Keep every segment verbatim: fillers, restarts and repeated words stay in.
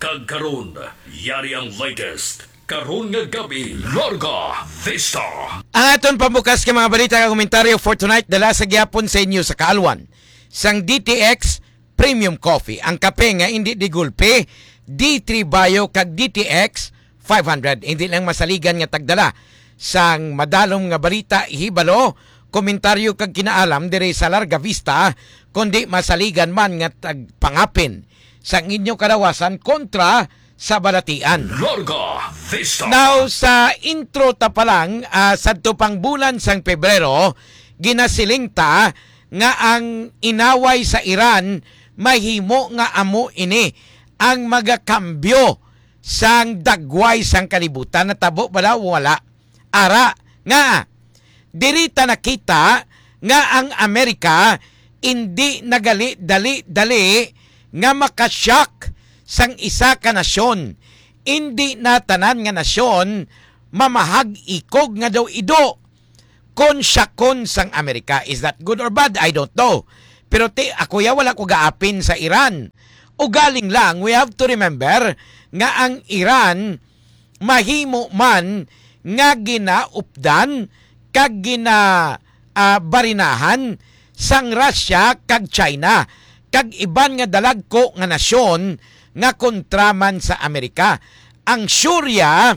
Kag karon, yari ang latest. Karon nga gabi, Larga Vista. Ang aton pambukas nga mga balita kag komentaryo for tonight, dala sa gihapon sa inyo sa kaalwan sang D T X Premium Coffee, ang kape nga indi di gulpi, D three Bio kag D T X five hundred. Indi lang masaligan nga tagdala sang madalom nga balita, hibalo, komentaryo kag kinaalam diri sa Larga Vista, kundi masaligan man nga tagpangapin sang inyo kalawasan kontra sa balatian. Larga Vista. Now, sa intro ta pa lang, ah, sadto pang bulan sang Pebrero, ginasiling ta nga ang inaway sa Iran mahimo nga amo ini ang magakambyo sang dagway sang kalibutan. Natabo bala o wala? Ara nga, diri ta nakita nga ang Amerika indi nagali dali-dali nga makashock sang isa ka nasyon. Indi na tanan nga nasyon mamahag-ikog nga daw ido kon syakon sang Amerika. Is that good or bad? I don't know. Pero ti, ako ya, wala ko gaapin sa Iran. Ugaling lang, we have to remember nga ang Iran mahimo man nga ginaupdan kag gina, ah, barinahan sang Russia kag China kag iban nga dalagko nga nasyon nga kontra man sa Amerika. Ang Syria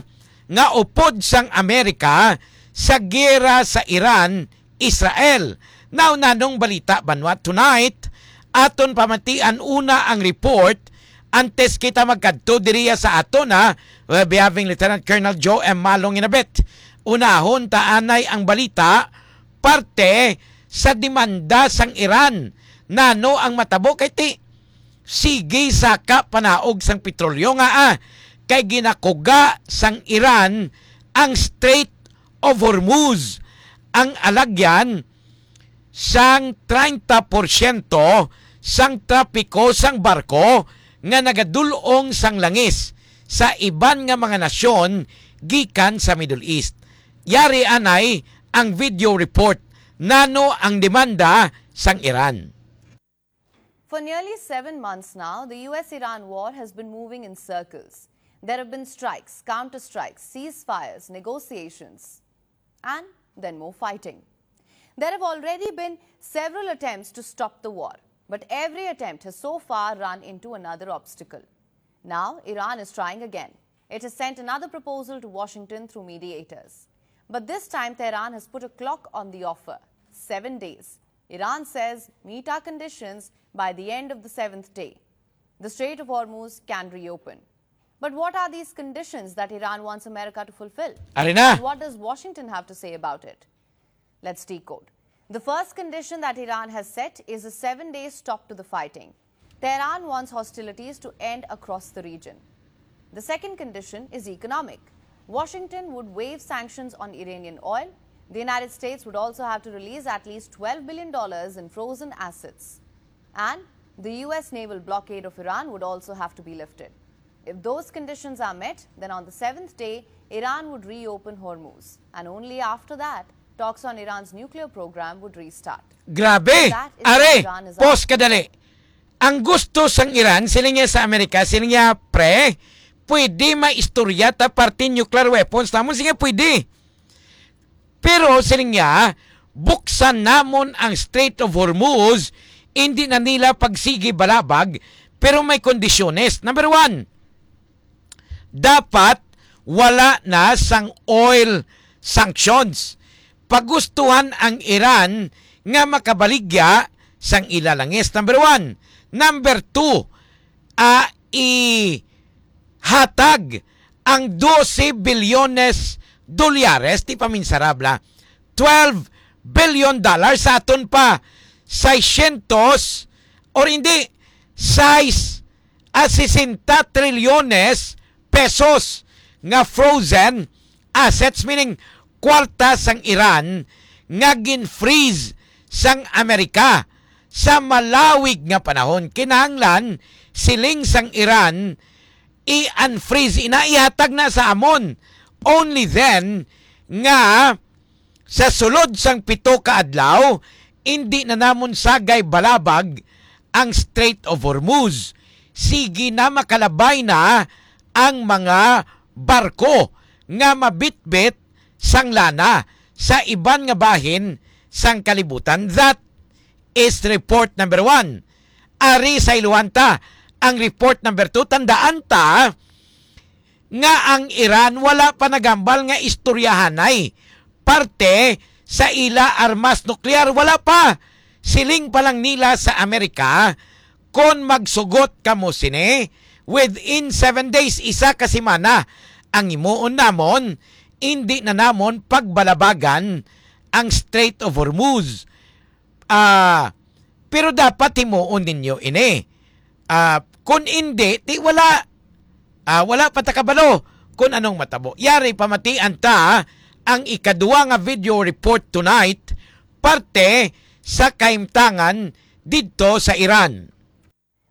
nga upod sang Amerika sa giyera sa Iran, Israel. Now, nanong balita, banwa, tonight, aton pamatian una ang report antes kita magkadto diriya sa aton, ha. We'll be having Lieutenant Colonel Joe M. Malong in a bit. Unahon ta anay ang balita, parte sa demanda sang Iran. Nano ang matabo kay ti sige saka panaog sang petrolyo nga, ah, kay ginakuga sang Iran ang Strait of Hormuz, ang alagyan sang treinta porsyento sang trapiko sang barko nga nagadul-ong sang langis sa iban nga mga nasyon gikan sa Middle East. Yari anay ang video report. Nano ang demanda sang Iran? For nearly seven months now, the U S Iran war has been moving in circles. There have been strikes, counter-strikes, ceasefires, negotiations, and then more fighting. There have already been several attempts to stop the war, but every attempt has so far run into another obstacle. Now, Iran is trying again. It has sent another proposal to Washington through mediators. But this time, Tehran has put a clock on the offer, seven days. Iran says, "Meet our conditions by the end of the seventh day. The Strait of Hormuz can reopen." But what are these conditions that Iran wants America to fulfill? Ari na. And what does Washington have to say about it? Let's decode. The first condition that Iran has set is a seven-day stop to the fighting. Tehran wants hostilities to end across the region. The second condition is economic. Washington would waive sanctions on Iranian oil. The United States would also have to release at least twelve billion dollars in frozen assets. And the U S naval blockade of Iran would also have to be lifted. If those conditions are met, then on the seventh day, Iran would reopen Hormuz. And only after that, talks on Iran's nuclear program would restart. Grabe! That is what Are, Iran is pause ka dali. Ang gusto sang Iran, siling niya sa Amerika, siling niya, "Pre, pwede maistorya ta parte nuclear weapons namon." Sige, pwede. Pero siling niya, "Buksan namon ang Strait of Hormuz, hindi na nila pagsigi balabag, pero may kondisyones. Number one, dapat wala na sang oil sanctions. Pagustuhan ang Iran nga makabaligya sang ila langis." Number one. Number two, ah, ihatag ang dose bilyones dolyares, di pa minsarabla, twelve billion dollars, sa aton pa, seiscientos, or hindi, sais, ah, sesenta trilyones pesos nga frozen assets, meaning kwarta sang Iran nga gin-freeze sang Amerika sa malawig nga panahon. Kinahanglan, siling sang Iran, i-unfreeze, ina, ihatag na sa amon. Only then nga sa sulod sang pito ka adlaw, indi na namon sagay balabag ang Strait of Hormuz. sige na, makalabay na ang mga barko nga mabitbit sang lana sa iban nga bahin sang kalibutan. That is report number one. Ari sa iluhan ta ang report number two. Tandaan ta nga ang Iran wala pa nagambal nga istoryahanay parte sa ila armas nuklear. Wala pa. Siling pa lang nila sa Amerika, kon magsugot kamo sini within seven days, isa ka semana, ang himuon namon, indi na namon pagbalabagan ang Strait of Hormuz. Ah, pero dapat himuon ninyo ini. Ah, kun indi, di wala. Ah, wala pa ta kabalo kun anong matabo. Yari, pamatian ta ang ikaduwa nga video report tonight, parte sa kahimtangan didto sa Iran.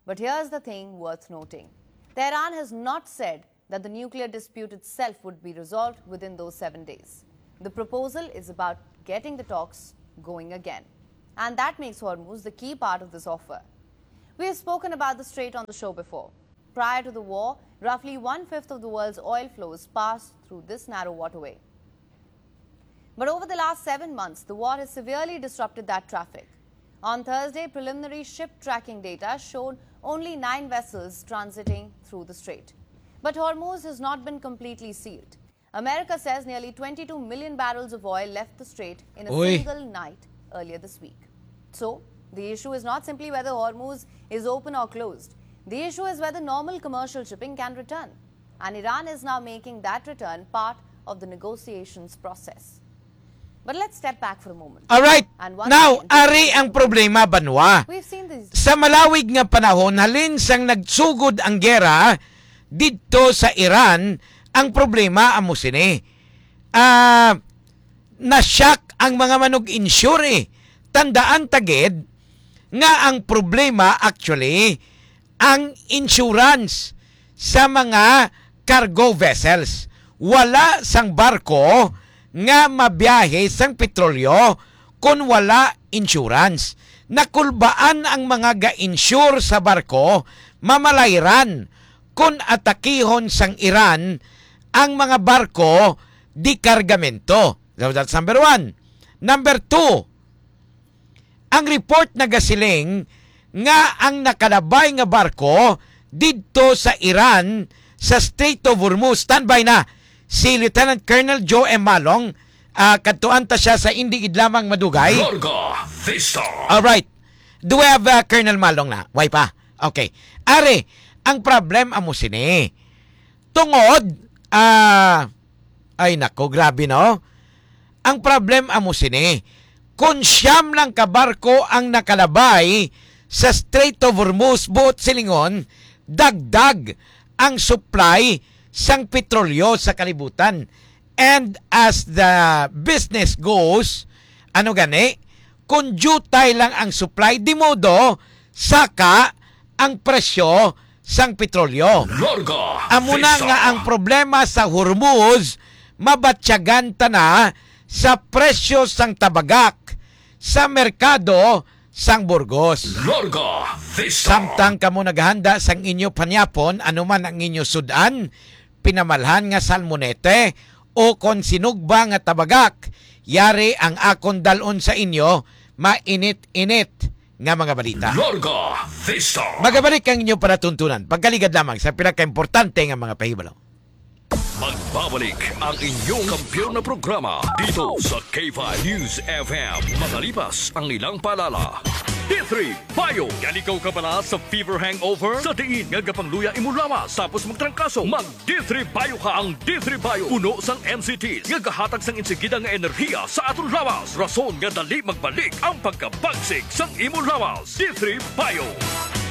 But here's the thing worth noting. Tehran has not said that the nuclear dispute itself would be resolved within those seven days. The proposal is about getting the talks going again. And that makes Hormuz the key part of this offer. We have spoken about the strait on the show before. Prior to the war, roughly one-fifth of the world's oil flows passed through this narrow waterway. But over the last seven months, the war has severely disrupted that traffic. On Thursday, preliminary ship tracking data showed only nine vessels transiting through the strait. But Hormuz has not been completely sealed. America says nearly twenty-two million barrels of oil left the strait in a Uy. single night earlier this week. So, the issue is not simply whether Hormuz is open or closed. The issue is whether normal commercial shipping can return. And Iran is now making that return part of the negotiations process. But let's step back for a moment. Alright. And once Now, again, ari ang problema, banwa. We've seen these Sa malawig nga panahon, halin sang nagsugod ang gera didto sa Iran, ang problema amo sini. Ah, na-shock ang mga manug-insure, eh. Tandaan ta gid nga ang problema, actually, ang insurance sa mga cargo vessels. Wala sang barko nga mabiyahe sang petrolyo kon wala insurance. Nakulbaan ang mga ga-insure sa barko, mamalayran kon atakihon sang Iran ang mga barko di kargamento. So, that's number one. Number two, ang report nagasiling nga ang nakalabay nga barko didto sa Iran sa Strait of Hormuz. Standby na si Lieutenant Colonel Joe M. Malong. Ah, kadtuan ta siya sa indi gid lamang madugay. Larga Vista. Alright. Do we have, uh, Colonel Malong na? Way pa. Okay. Ari, ang problem amo sini. Tungod, ah, ay nako, grabe, no? Ang problem amo sini, kon siyam lang ka barko ang nakalabay sa Strait of Hormuz, buot silingon, dagdag ang supply sang petrolyo sa kalibutan. And as the business goes, ano gani, kon diutay lang ang supply, di modo, saka ang presyo sang petrolyo. Larga Amo na Vista. Nga ang problema sa Hormuz, mabatyagan ta na sa presyo sang tabagak sa merkado sang Burgos. Larga Vista. Samtang kamo naghanda sang inyo panyapon, ano man ang inyo sud-an, pinamalhan nga salmonete o kon sinugba nga tabagak, yari ang akon dal-on sa inyo, mainit-init nga mga balita. Larga Vista. Magabalik ang inyo palatuntunan. Pagkaligad lamang sa pinakaimportante nga mga pahibalo. Magbabalik ang inyong kampiyon na programa dito sa K five News F M. Makalipas ang ilang paalala. D three Bio. Yan ikaw kabala sa fever hangover? Sa diin nga gapangluya imo lawas tapos magtrangkaso? Mag D three Bio ka. Ang D three Bio puno sang M C Ts nga gahatag sang insigida nga enerhiya sa aton lawas, rason nga dali magbalik ang pagkabagsik sang imo lawas. D three Bio.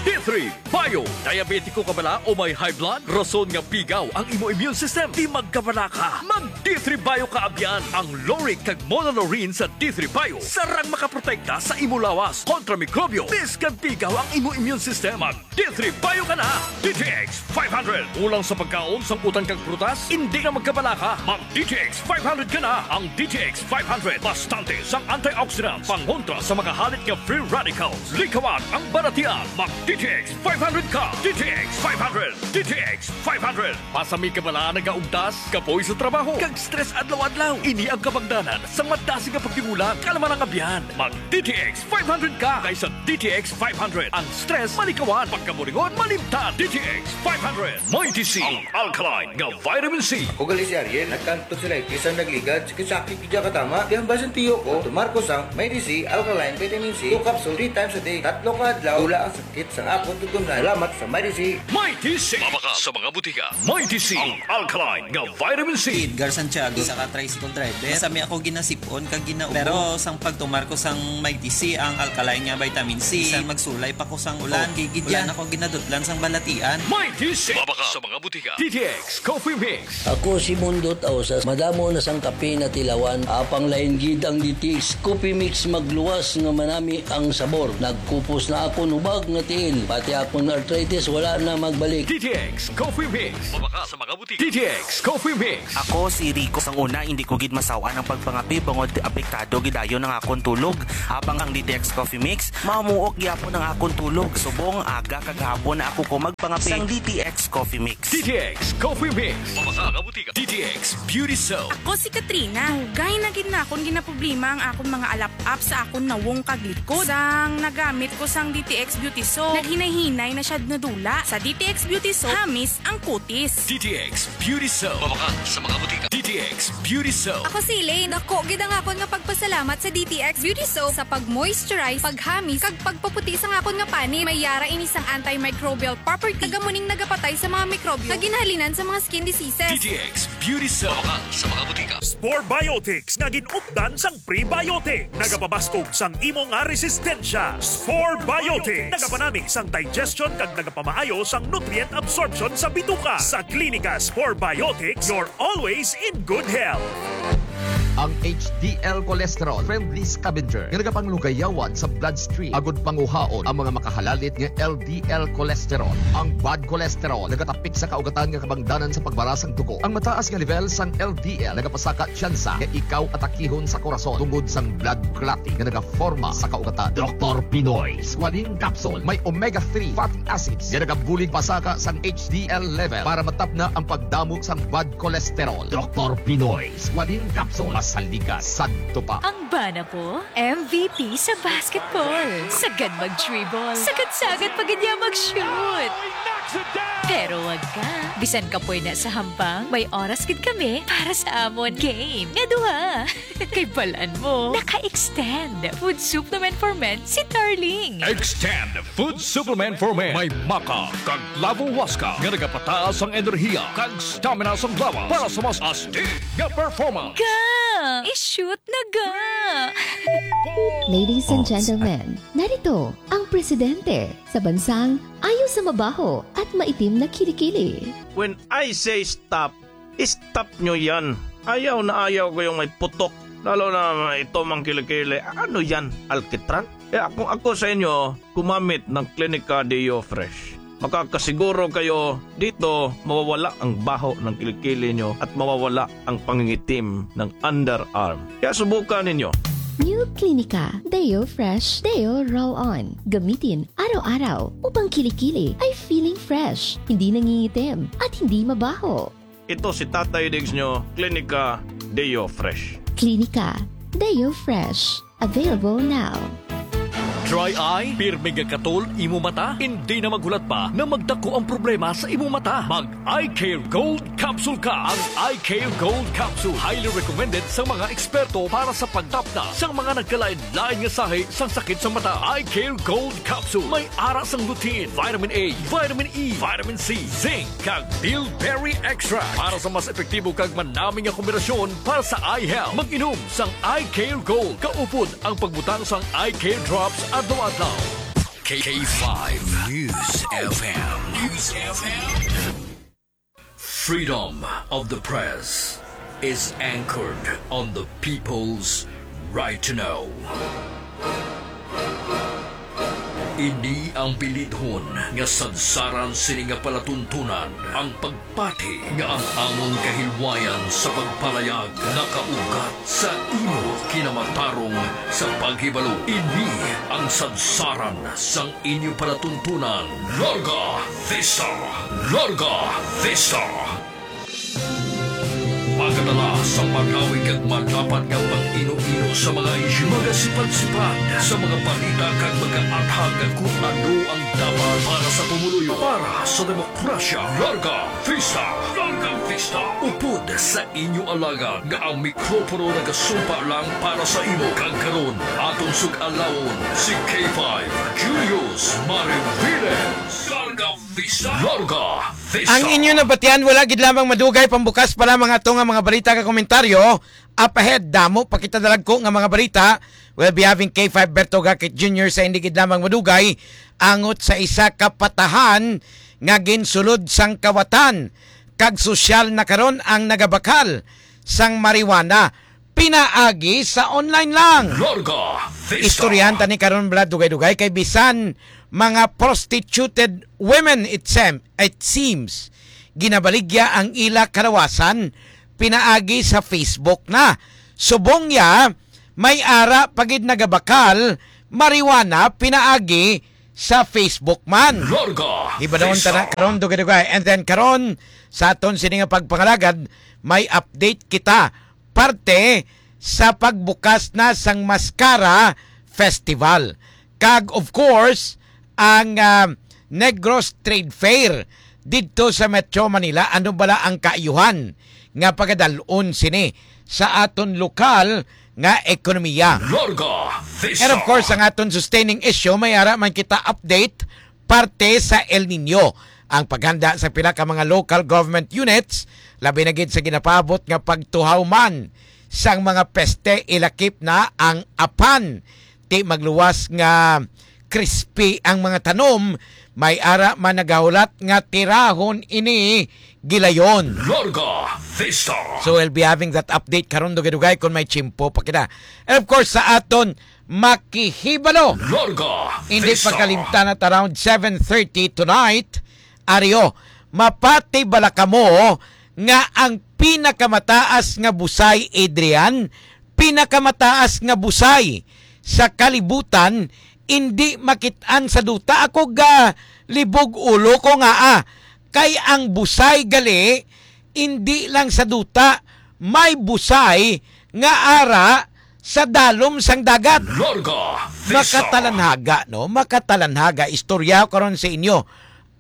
D three Bio. Diabetiko ka bala o may high blood? Rason nga pigaw ang imo immune system? Di magkabala ka. Mag D three Bio ka abyan. Ang lauric kag monolaurin sa D three Bio sarang makaprotekta sa imo lawas kontra mikrobyo. Bisan pigaw ang imo immune system, mag D three Bio ka na. D T X five hundred. Kulang sa pagkaon, sangkutan kag prutas? Indi na magkabala ka. Mag D T X five hundred ka na. Ang D T X five hundred, bastante sang antioxidants, pangontra sa mga halit nga free radicals. Likawan ang balatian. Mag D D T X five hundred ka! D T X five hundred! D T X five hundred! Pasami ka bala nagaugtas, kapoy sa trabaho, kag stress adlaw-adlaw. Ini ang kabangdanan sang madasig nga pagdimula, kalma nga biyan. Mag D T X five hundred ka kaysa D T X five hundred. Ang stress malikawan, pagkaburingon malimtan. D T X five hundred. Mighty C, ang alkaline nga vitamin C. Ako gali si Ariel, nagkanto si Laitis ang nagligad, sakit-sakit gid katama. Di ang basin tiyo ko, tumar ko sang Mighty C Alkaline Vitamin C, two capsule, three times a day, tatlo ka adlaw, wala ang sakit sang akon tutunlan. Salamat sa Mighty C. Mighty C. Mabakal sa mga butika. Mighty C, ang alkaline nga vitamin C. Edgar Santiago, isa ka tricycle driver. Masami ako ginasipon kag ginaubo. Pero sang pagtumar ko sang Mighty C, ang alkaline nga vitamin C, bisan magsulay pa ko sang ulan, okay gid yan. Wala na ko ginadutlan sang balatian. Mighty C. Mabakal sa mga butika. D T X Coffee Mix. Ako si Mundot Ausas. Madamo na sang kape na tilawan. Apang lain gid ang D T X Coffee Mix, magluwas nga manami ang sabor. Nagkupos na akon hubag nga tiil. Pati akon arthritis wala na magbalik. D T X Coffee Mix. Mabakal sa mga butika. D T X Coffee Mix. Ako si Rico. Sang una, hindi ko gid masaw-an ang pagpangape bangod apektado gid dayon ang akon tulog. Habang ang D T X Coffee Mix, mamuok gyapon ang akon tulog. Subong aga kag hapon na ako ko magpangape. Sang D T X Coffee Mix. D T X Coffee Mix. Mabakal sa mga butika. D T X Beauty Soap. Ako si Katrina. Dugay na gid na akon ginaproblema ang akon mga alap-ap sa akon nawong kag likod. Sang nagamit ko sang D T X Beauty Soap, naghinay-hinay na siya nadula. Sa D T X Beauty Soap, hamis ang kutis. D T X Beauty Soap. Mabakal sa mga butika. D T X Beauty Soap. Ako si Elaine. Dako gid ang akon nga pagpasalamat sa D T X Beauty Soap sa pag-moisturize, paghamis, kag pagpaputi sang akon nga panit. May yara ini sang antimicrobial property, kag amo ning nagapatay sa mga mikrobyo nga ginahalinan sa mga skin diseases. D T X Beauty Soap. Mabakal sa mga butika. Spore Biotics nga gin-updan sang prebiotic. Nagapabaskog sang imo nga resistensya. Spore Biotics. Nagapanami sang digestion kag nagapamaayo sang nutrient absorption sa bituka. Sa Klinika Spore Biotics, you're always in good health. Ang H D L cholesterol, friendly scavenger nga nagapanglunggayawan sa bloodstream agud panguhaon ang mga makahalalit nga L D L cholesterol. Ang bad cholesterol nagatapik sa kaugatan nga kabangdanan sa pagbara sang dugo. Ang mataas nga level sang L D L nagapasaka tsansa nga ikaw atakihon sa korason tungod sang blood clotting nga nagaforma sa kaugatan. Doktor Pinoy Squalene Capsule may omega three fatty acids nga nagabulig pasaka sang H D L level para matapna ang pagdamo sang bad cholesterol. Doktor Pinoy Squalene Capsule, masaligas sadto pa. Ang bana ko, M V P sa basketball. Sagad mag-dribble. Sagad-sagad pa gid niya mag-shoot. Pero wag ka. Bisan kapoy na sa hampang, may oras gid kami para sa amon game nga duha. Kay balan mo, naka-extend Food Supplement for Men si Darling. Extend Food Supplement for Men. May maca kag lavo huasca nga nagapataas ang enerhiya kag stamina sang lawas para sa mas astig nga performance. Ga! I-shoot na ga! Ladies and gentlemen, narito ang presidente sa bansang ayaw sa mabaho at maitim na kilikili. When I say stop, stop nyo yan. Ayaw na ayaw ko yung may putok. Lalo na ito mang kilikili. Ano yan? Alkitran? Kaya kung ako sa inyo, gumamit ng Clinica Deo Fresh. Makakasiguro kayo dito mawawala ang baho ng kilikili nyo at mawawala ang pangingitim ng underarm. Kaya subukan ninyo. New Clinica Deo Fresh Deo Roll On. Gamitin araw-araw upang kilikili ay feeling fresh, hindi nangingitim, at hindi mabaho. Ito si Tatay Diggs nyo, Clinica Deo Fresh. Clinica Deo Fresh. Available now. Dry eye? Pirmi nga katol imo mata? Hindi na maghulat pa na magdako ang problema sa imo mata. Mag Eye Care Gold Capsule ka. Ang Eye Care Gold Capsule highly recommended sa mga eksperto para sa pagtapna sa mga nagkalain-lain nga sahi sang sakit sa mata. Eye Care Gold Capsule may ara sang lutein, vitamin A, vitamin E, vitamin C, zinc, kag bilberry extract para sa mas epektibo kag manami nga kombinasyon para sa eye health. Mag-inom sang Eye Care Gold. Kaupod ang pagbutang sang Eye Care Drops adlaw-adlaw. K five News F M. News F M. Freedom of the press is anchored on the people's right to know. Ini ang bilidhon nga sadsaran sini nga palatuntunan, ang pagpati nga ang amon kahilwayan sa pagpalayag nakaugat sa imo kinamatarong sa paghibalo. Ini ang sadsaran sang inyo palatuntunan. Larga Vista! Larga Vista! Magadala sa malawig kag malapad nga pag-ino-ino sa mga isyu, magasipad-sipad sa mga balita kag magaathag kung ano ang dapat para sa pumuluyo, para sa demokrasya. Larga Vista! Larga Vista! Upod sa inyo alagad nga ang mikropono nagasumpa lang para sa imo, kag karon aton sug-alawon si K five Julius Mariviles. Larga Vista! Larga Vista! Ang inyo nabatian, wala gid lamang madugay. Pambukas pa lamang ato nga mga balita kag komentaryo. Up ahead, damo pa kita dalagko nga mga balita. We'll be having K five Berto Gakit Junior sa hindi gid lamang madugay, angot sa isa ka patahan nga ginsulod sang kawatan, kag sosyal na karon ang nagabakal sang marijuana pinaagi sa online lang. Larga Vista. Istoryahan ta ni karon, bala, dugay-dugay, kay bisan mga prostituted women, it sem-, it seems, ginabaligya ang ila kalawasan pinaagi sa Facebook na. Subong ya, may ara pa gid nagabakal marijuana pinaagi sa Facebook man. Larga Hibadahon ta na Vista. Karon, dugay-dugay. And then karon, sa aton sini nga pagpangalagad, may update kita parte sa pagbukas na sang Mascara Festival. Kag, of course, ang, ah, Negros Trade Fair didto sa Metro Manila. Ano bala ang kaayuhan nga pagadal-on sini sa aton lokal nga ekonomiya? Larga Vista. And of course, ang aton sustaining issue, may ara man kita update parte sa El Nino. Ang paghanda sa pila ka mga local government units, labi na gid sa ginapaabot nga pagtuhaw man sang mga peste, ilakip na ang apan. Ti magluwas nga crispy ang mga tanom, may ara man nagahulat nga tirahon ini gilayon. Larga Vista. So we'll be having that update karon, dugay-dugay, kung may tiyempo pa kita. And of course, sa aton makihibalo. Larga Hindi Vista. Pagkalimtan at around seven thirty tonight, Ario, mapati bala kamo nga ang pinakamataas nga busay, Adrian, pinakamataas nga busay sa kalibutan, indi makit-an sa duta? Ako ga libog ulo ko nga, ah, kay ang busay gali indi lang sa duta, may busay nga ara sa dalom sang dagat. Larga Vista. Makatalanhaga, no? Makatalanhaga. Istorya ko karon sa inyo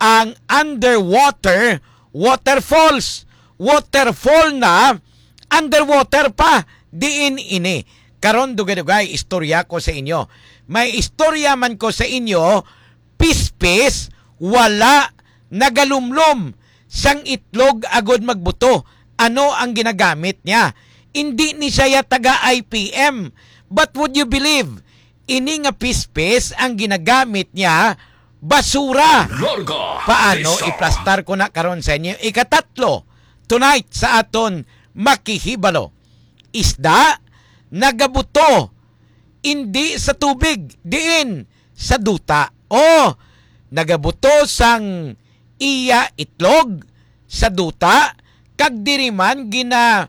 ang underwater waterfalls. Waterfall na, underwater pa. Diin ini? Karon, dugay-dugay, istorya ko sa inyo. May istorya man ko sa inyo, pispis, wala nagalumlom sang itlog agod magbuto. Ano ang ginagamit niya? Indi ni siya taga I P M. But would you believe, ini nga pispis ang ginagamit niya, basura. Larga Paano Vista. Iplastar ko na karon sa inyo? Ikatatlo, tonight sa aton makihibalo. Isda, nagabuto, indi sa tubig, diin sa duta. O, nagabuto sang iya itlog sa duta, kag diri man gina,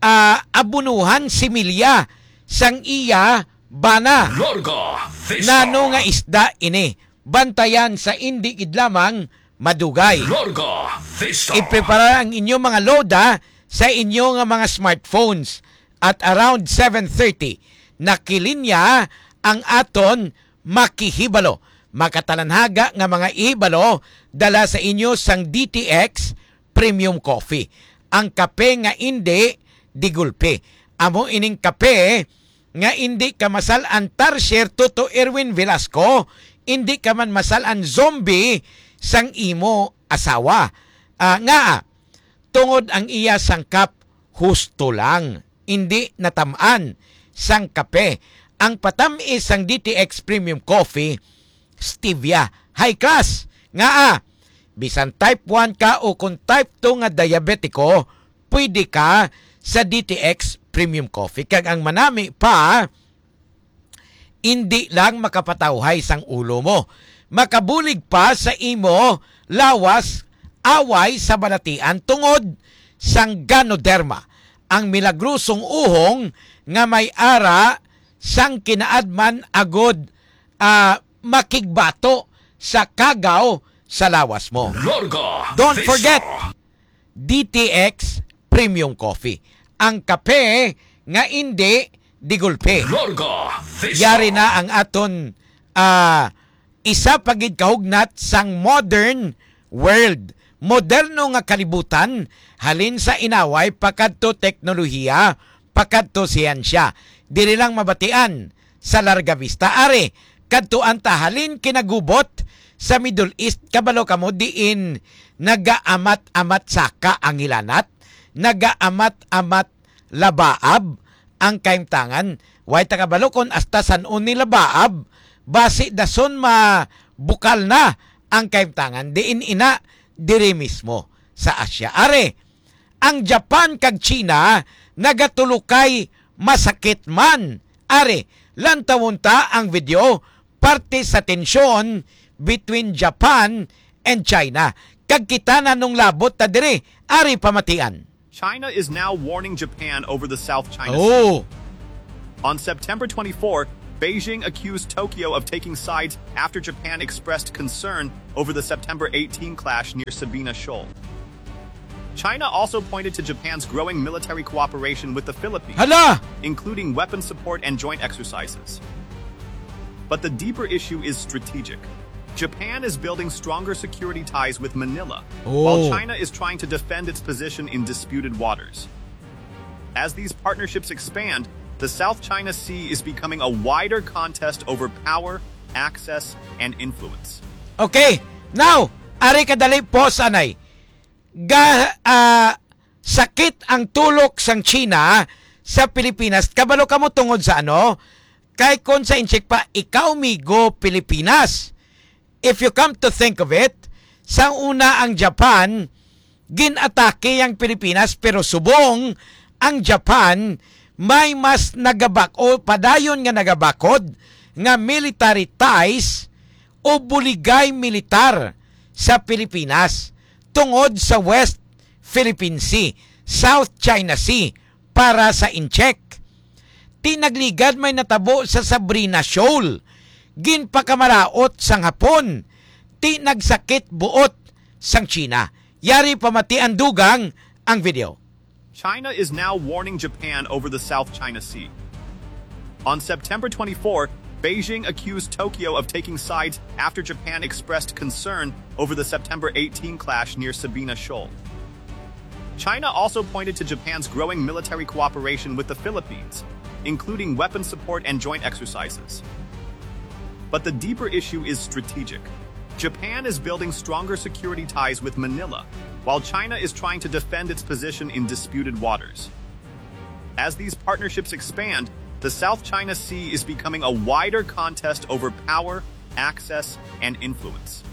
ah, abunuhan similya sang iya bana. Larga Vista. Nano nga isda ini? Bantayan sa indi gid lamang madugay. Larga Vista. Iprepara ang inyong mga load, ah, sa inyo nga mga smartphones. At around seven thirty, nakilinya ang aton makihibalo. Makatalanhaga nga mga ihibalo dala sa inyo sang D T X Premium Coffee. Ang kape nga indi digulpi. Amo ining kape nga indi ka masal-an, Tarsier Toto Erwin Velasco, indi ka man masal-an zombie sang imo asawa. Ah, nga, tungod ang iya sangkap husto lang, indi natam-an sang kape. Ang patamis sang D T X Premium Coffee, stevia, high class. Ngaa, bisan type one ka o kung type two nga diabetiko, pwede ka sa D T X Premium Coffee. Kag ang manami pa, indi lang makapatawhay sang ulo mo, makabulig pa sa imo lawas, away sa balatian tungod sang Ganoderma, ang milagrosong uhong nga may ara sang kinaadman agod, ah, makigbato sa kagaw sa lawas mo. Larga Don't Vista. Forget, D T X Premium Coffee, ang kape nga indi di gulpi. Larga Vista. Yari na ang aton, ah, isa pa gid kahugnat sang modern world. Moderno nga kalibutan, halin sa inaway pakadto teknolohiya, pakadto siyensya. Diri lang mabatian sa Larga Vista. Ari, kadtuan ta halin kinagubot sa Middle East. Kabalo kamo diin nagaamat-amat saka ang hilanat, nagaamat-amat labaab ang kahimtangan. Way ta kabalo kon hasta san-o ni labaab, basi dason mabukal na ang kahimtangan. Diin ina, diri mismo sa Asia. Ari, ang Japan kag China nagatulokay masakit man. Ari, lantawon ta ang video, parte sa tensyon between Japan and China. Kag kita na nung labot ta diri, ari pamatian. China is now warning Japan over the South China Sea. Oh. On September twenty-four, Beijing accused Tokyo of taking sides after Japan expressed concern over the September eighteen clash near Sabina Shoal. China also pointed to Japan's growing military cooperation with the Philippines, Hala! including weapons support and joint exercises. But the deeper issue is strategic. Japan is building stronger security ties with Manila, Oh. while China is trying to defend its position in disputed waters. As these partnerships expand, the South China Sea is becoming a wider contest over power, access, and influence. Okay, now, ari kadali po sanay. Ga, ah, sakit ang tulok sang China sa Pilipinas. Kabalo kamo tungod sa ano? Kay kon sa inchik pa, ikaw migo Pilipinas. If you come to think of it, sa una ang Japan, gin-atake ang Pilipinas, pero subong ang Japan may mas nagabak-, o padayon nga nagabakod nga military ties o buligay militar sa Pilipinas tungod sa West Philippine Sea, South China Sea para sa incheck. Ti nagligad may natabo sa Sabrina Shoal, ginpakamaraot sang Hapon, ti nagsakit buot sang China. Yari pamatian dugang ang video. China is now warning Japan over the South China Sea. On September twenty-four, Beijing accused Tokyo of taking sides after Japan expressed concern over the September eighteen clash near Sabina Shoal. China also pointed to Japan's growing military cooperation with the Philippines, including weapons support and joint exercises. But the deeper issue is strategic. Japan is building stronger security ties with Manila, while China is trying to defend its position in disputed waters. As these partnerships expand, the South China Sea is becoming a wider contest over power, access, and influence.